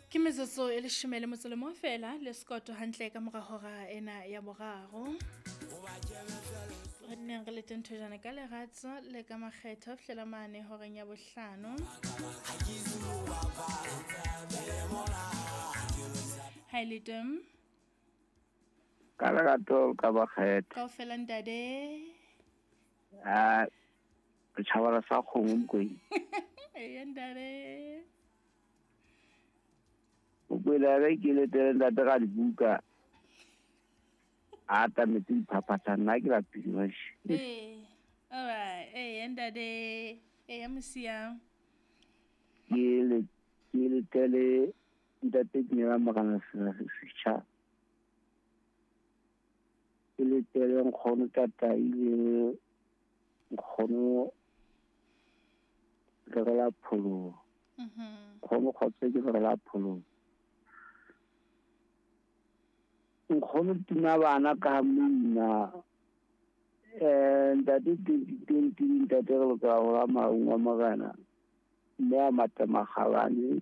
Ke metsotso e leshome le motso le mong fela le sekoto hantle ka mora hora ena ya boraro. Re nneng re lete nthojana ka leratso le ka makgetho ho fihlela mane horeng ya bohlano. Ha e le teng. Ka lerato ka makgetho. Kaofela ntate. Ah, setjhabana sa kgomo Mokwena. Eya ntate. Mokwena re ke letele ntate ka dibuka. A atametse diphaphatha nna ke lapile wesh. Ee. Alright, eya ntate. Eya mosia. Ke le ke letele ntate Dumela Morena Setjha. Ke letele nkgono Tatai le nkgono Lerela Pholoho. Nkgono Kgotso ke Lerela Pholoho. Nkgono tima bana ka moina. Ntate 2020 ntate re lokela ho ba maung wa morena. Mme a mata makgabane.